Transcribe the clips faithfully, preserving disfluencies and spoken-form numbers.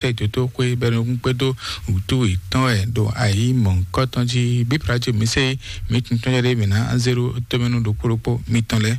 Etoto xwé bɛnukún kpédó wǔtú yětɔn wɛ ɖo ayǐ mɔ̌hunkɔtɔn jí. Bíblá ce mi se mi tuntun jɛ ɖé mi ná zéro tómɛnu ɖokpó ɖokpó mitɔn lɛ́ɛ.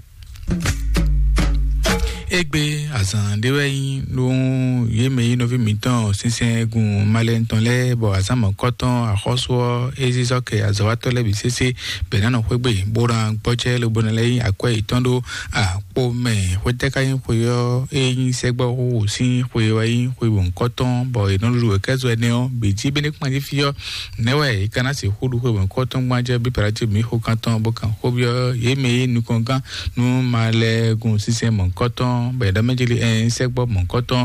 Égbé azǎn ɖé wɛ nyí nú yě mɛ nyí nɔví mǐtɔn sinsɛngun malɛnu tɔn lɛ́ɛ, bɔ azǎn mɔ̌kɔtɔn axɔ́sú ɔ́ é zízɔ́ kɛ azɔ̌watɔ́ lɛ́ɛ bǐ sésé bɛ̌ ná nɔ xwé gbe, bó ná gbɔjɛ́ lobo ná lɛ́ nyí akwɛ́ yětɔn ɖó akpo mɛ. Xwetɛ́ ka nyí xwe ɔ́? É nyí sɛ́gbɔ́ xóxó sín xwe wɛ nyí xwe mɔ̌hunkɔtɔn, bɔ è nɔ ɖuɖu wěkɛ́zɔ ɛnɛ ɔ́ bǐ jí bé ní kpan jí fí ɔ́, nɛ̌ wɛ è ka ná sixú ɖu xwe mɔ̌hunkɔtɔn gbɔn jɛ bí Pilátu mǐ xo kan tɔn bó kan xó byɔ́ yě mɛ e nyí nukɔn gán nú malɛgun sinsɛn mɔ̌hunkɔtɔn, bɔ è ɖɔ mɛ jí lé ɛn sɛ́gbɔ́ mɔ̌hunkɔtɔn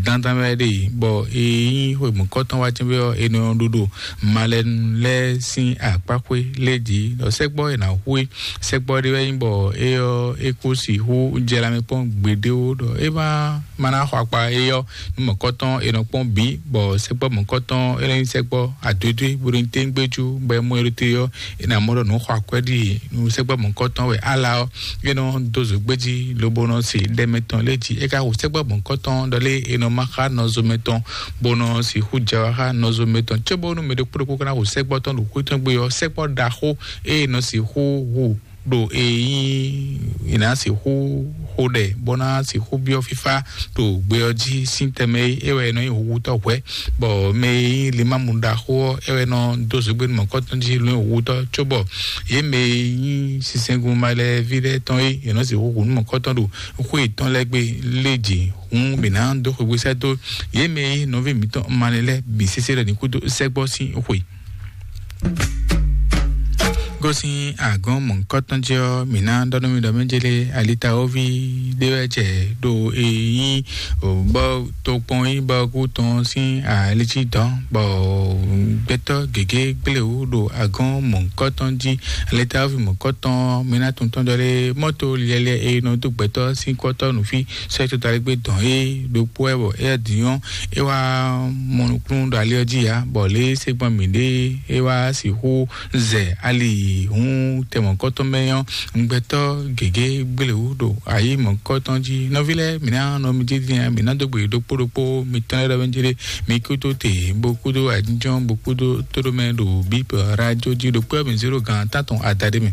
dandan wɛ ɖe, bɔ è nyí xwe mɔ̌hunkɔtɔn wá jɛ́n byɔ́ è nɔ ɖuɖu malɛnu lɛ́ɛ sín akpáxwé lɛ́ɛ jí, ɖɔ sɛ́gbɔ́ è nǎ hu é. Sɛ́gbɔ́ ɖé wɛ nyí bɔ é ɔ́ é kú sixú jɛ lanmɛ kpɔ́n gbeɖéwo ɖɔ é má ma ná xɔ akpa éyɔ́ nú mɔ̌kɔtɔn è nɔ kpɔ́n bǐ, bɔ sɛ́gbɔ́ mɔ̌kɔtɔn é nɔ nyí sɛ́gbɔ́ adwedwe bó nɔ nyí téńgbéjú, bɔ é mɔ é ɖo te ɔ́, é ná mɔ ɖɔ nǔ xɔ akwɛ́ ɖi nú sɛ́gbɔ́ mɔ̌kɔtɔn wɛ ala ɔ́, é nɔ dó zǒ gbé jí lobo nɔ se ɖɛ mɛtɔn lɛ́ɛ jí. É ka xo sɛ́gbɔ́ mɔ̌kɔtɔn ɖɔ lé è nɔ má xá nɔzo mɛtɔn, bó nɔ sixú jɛ wá xá nɔzo mɛtɔn, cóbónú mɛ ɖokpó ɖokpó ka ná xo sɛ́gbɔ́ tɔn ɖo xwé tɔn gbe ɔ́, sɛ́gbɔ́ ɖaxó e è nɔ sixú hu ɖo e nyí è nǎ sixú xo ɖɛ bó ná sixú byɔ́ fífá ɖo gbe ɔ́ jí sín tɛnmɛ é, é wɛ è nɔ nyí hǔhutɔ́ hwɛ̌, bɔ mɛ e nyí limámu ɖaxó ɔ́, é wɛ nɔ dó zǒgbénu mɔ̌kɔtɔn jí nú hǔhutɔ́, cóbɔ yě mɛ e nyí sinsɛngun malɛví lɛ́ɛ tɔn é, è nɔ sixú hu nú mɔ̌kɔtɔn ɖo xwé yětɔn lɛ́ɛ gbe lé jǐ. Hǔn mǐ ná dó xwegbe sɛ́ dó yě mɛ e nyí nɔví mǐtɔn malɛ lɛ́ɛ bǐ sésé ɖɔ ní kúdó sɛ́gbɔ́ sín xwe. Gosín agɔ̌n mɔ̌hunkɔtɔn jí ɔ́, mǐ ná ɖɔ nú mi ɖɔ mɛ jélé alitawoví ɖé wɛ jɛ ɖo e nyí bɔ tokpɔn nyí bɔ kú tɔn sín ali jí dɔn, bɔ gbɛtɔ́ gěgé gblé wú ɖo agɔ̌n mɔ̌hunkɔtɔn jí. Alitawoví mɔ̌hunkɔtɔn, mǐ ná tunwun tɔn jɔ lé mɔ́to liɛliɛ e nɔ dó gbɛtɔ́ sín kɔ́tɔ́ nǔfí sɔ́ yi totaligbé dɔn é ɖokpó wɛ, bɔ éyɛ́ din ɔ́, é wá mɔ nukúnnú ɖo ali ɔ́ jí ǎ, bɔ lě e é se gbɔn mǐɖée é wá sixú zɛ ali hǔn tɛ mɔ̌kɔtɔn mɛ ɔ́, gbɛtɔ́ gěgé gblé wú ɖo ayǐ mɔ̌kɔtɔn jí. Nɔví lɛ́ɛ, mǐ ná nɔ mi jí din ǎ, mǐ ná dó gbe ɖokpó ɖokpó mitɔn lɛ́ɛ ɖɔ mɛ jí ɖé, mi kúdó te, bó kúdó ajínjɔ́n, bó kúdó tóɖomɛ ɖo bíbɔ rájó jí ɖokpó ɔ́, mǐ zé ɖo gan tántɔn adaɖé mɛ.